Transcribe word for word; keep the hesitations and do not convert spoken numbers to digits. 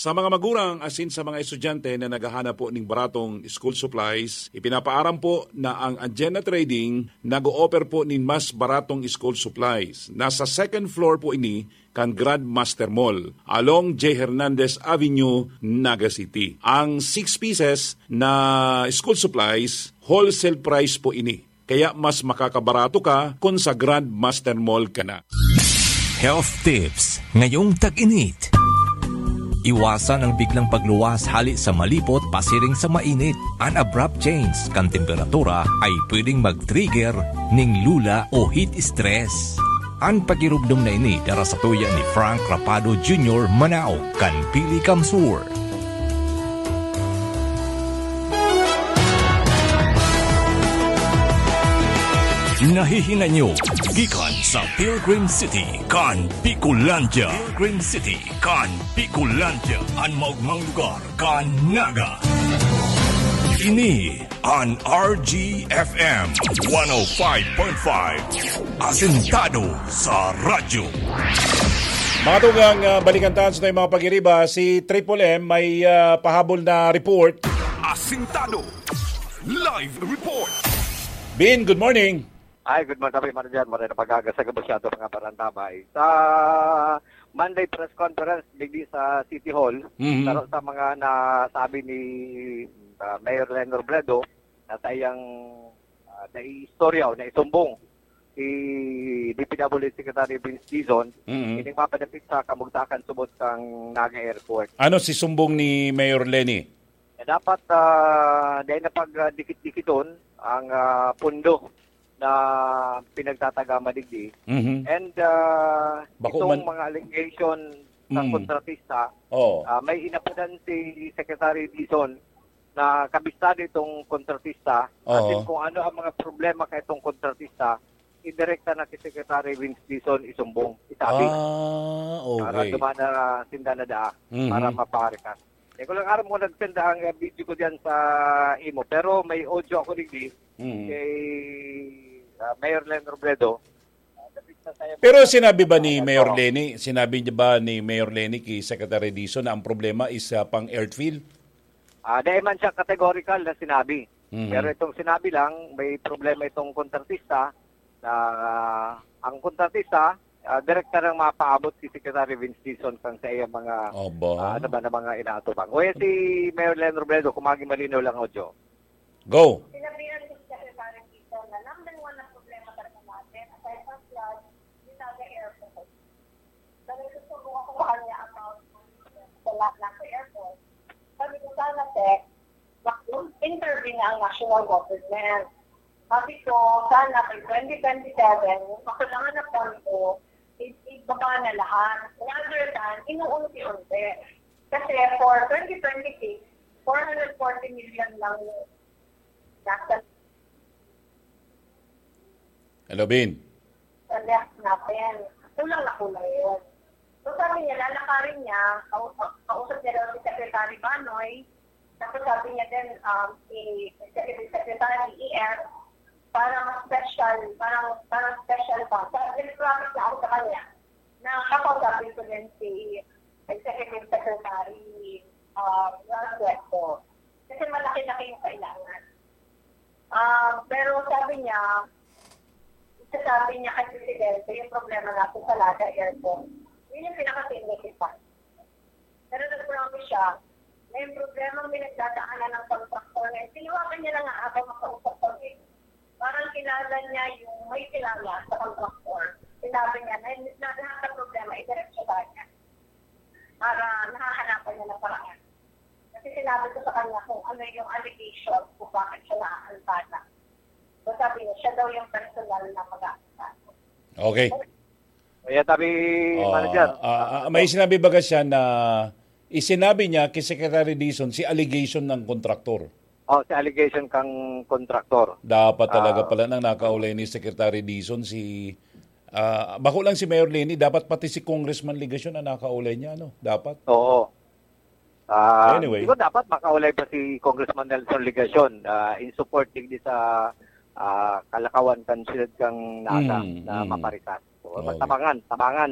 Sa mga magurang asin sa mga estudyante na naghahanap po ning baratong school supplies, ipinapaaram po na ang Agenda Trading nag-o-offer po nin mas baratong school supplies. Nasa second floor po ini kan Grandmaster Mall, along J Hernandez Avenue, Naga City. Ang six pieces na school supplies, wholesale price po ini. Kaya mas makakabarato ka kun sa Grandmaster Mall ka na. Health tips ngayong tag-init. Iwasan ang biglang pagluwas hali sa malipot pasiring sa mainit. An abrupt change kan temperatura ay pwedeng mag-trigger ning lula o heat stress. An pagiromdom na ini dara sa tuya ni Frank Rapado Junior, Manao, kan Pili Kamsur. Nahihinay nyo gikan sa Pilgrim City kan Bicolandia. Pilgrim City kan Bicolandia, an maogmang lugar kan Naga. Ini an R G F M one oh five point five, asentado sa radyo. Mga tugang, ah, balikan tayo sa mga pagiriba. Si Triple M may, ah, pahabol na report. Asintado. Live report. Bin, good morning. Ay, good morning, Manager. Maray na pag-aga sa gabos sa ato mga parantabay. Sa Monday press conference digdi sa City Hall, Mhm. saro sa mga nasabi ni, ah, Mayor Leni Robredo na sa iyang, ah, naiistorya o naisumbong si D P W H Secretary Vince Dizon, Mhm. ining mapadapit sa kamugtakan subot kang Naga Airport. Ano si sumbong ni Mayor Leni? Na dapat, ah, dahil na pag, ah, dikit-dikiton ang, ah, pundo na pinagtatagama digdi. Mhm. And, ah, Bako itong man mga allegation sa Mm. kontratista, Oo. ah, may inapudan si Secretary Dizon na kabisado itong kontratista. Oo. Asin kung ano ang mga problema ka itong kontratista, idirekta na kay Secretary Vince Dizon isumbong, isabi. Ah, Para okay. duman na sinda na daa, Mhm. para maparikas. Di ko lang aram kung nag-send ang, uh, video ko diyan sa imo, pero may audio ako digdi Mhm. kay, uh, Mayor Leni Robredo. Uh, dapit na tayo Pero mga sinabi ba ni tao. Mayor Leni, sinabi niya ba ni Mayor Leni kay Secretary Dizon na ang problema is, uh, pang airfield? Ah, dahil man siya categorical na sinabi. Mhm. Pero itong sinabi lang, may problema itong kontratista na, ah, ang kontratista, ah, direkta nang mapaabot si Secretary Vince Dizon kang sa iyang mga, Aba. ah, ano ba, na mga inaatubang. O yan si Mayor Leni Robredo, kung maging malinaw lang, audio. Go. Sinabihan ko si Secretary Dizon na number one na problema talaga natin, aside from flood, yung Naga Airport. Nagsusumbong ako sa kanya about sa lahat ng airport. Sabi ko, "Sana, Sec, mag-intervene na ang national government." Sabi ko, "Sana by twenty twenty-seven, yung kakulangan na pondo, i-, ibaba na lahat. Rather than, inuunti-unti." Kasi for twenty twenty-six, four hundred forty million lang yung nasa Hello, Bin. Sa left natin. Kulang na kulang yun. So sabi niya, lalakarin niya, kausap, kausap niya daw si Secretary Banoy. Tapos sabi niya din, um, si Executive Secretary E F, para mas special, parang, parang special pa. Sa nag-promise na ako sa kanya na kakausapin ko din si Executive Secretary, uh, Ralph Cuervo. Kasi malaki-laki yung kailangan. Ah, pero sabi niya, sasabi niya kay Presidente, yung problema natin sa Naga Airport, yun yung pinaka-significant. Pero nag-promise siya na yung problema ang pinagdadaanan ng contractor na tinawagan niya na nga habang makausap kami. Parang kilala niya yung may kilala sa contractor. Sinabi niya na yung lahat ng problema, idiretso sa kanya. Para nahahanapan niya ng paraan. Kasi sinabi ko sa kanya kung ano yung allegation, kung bakit siya naaantala. So sabi niya, siya daw yung personal na mag-aantala. Okay. Kaya sabi, Oh, Manager, ah, ah, ah, may sinabi baga siya na isinabi niya kay Secretary Dizon si allegation ng kontraktor. Oh, si allegation kang kontraktor. Dapat talaga Ah. pala nang nakaulay ni Secretary Dizon si, ah, bako lang si Mayor Leni, dapat pati si Congressman Legacion ang nakaulay niya, ano? Dapat. Oo. Ah, Anyway. siguro dapat makaulay pa si Congressman Nelson Legacion, ah, in support digdi sa, ah, kalakawan kan siyudad kang Naga Mm, na mm. maparikas. So, Okay. tabangan, tabangan.